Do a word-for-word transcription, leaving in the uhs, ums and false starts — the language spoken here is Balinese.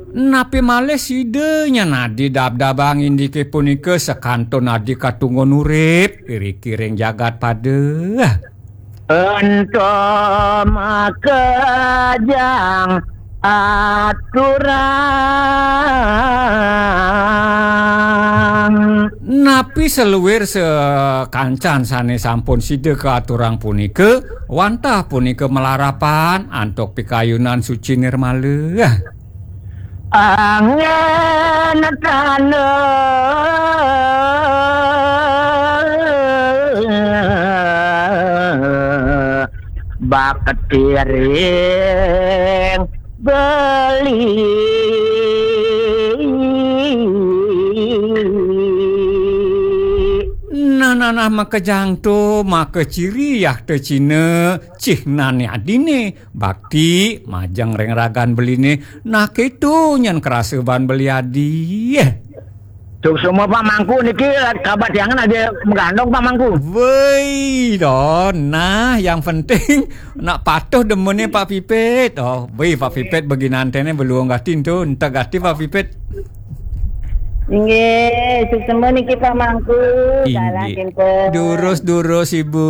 Napi malih sida nyen adi dabdabang indike punika sakantun adi katunggun urip iriki ring jagat pada? Ento makejang aturang. Napi saluir sakancan sane sampun sida kaaturang punika, wantah punika malarapan antuk pikayunan suci nirmala? Angin tanda bakti ring beli. Nah, nah, nah, makejang to, makeciri yah te Cina, cihnane adine, bakti, majeng ring ragan beline, nah keto nyen krasa ban beli adi. Suksma Pak Mangku niki, kabatiangan ada magandong Pak Mangku. Woi, don. Nah, yang penting nak patuh demene Pak Pipit. Oh, woi Pak Pipit beginantene beluung gatin to, entek gati Pak Pipit. Inggih, suksma niki Pak Mangku. Inggih. Salah kinten. Durus-durus Ibu.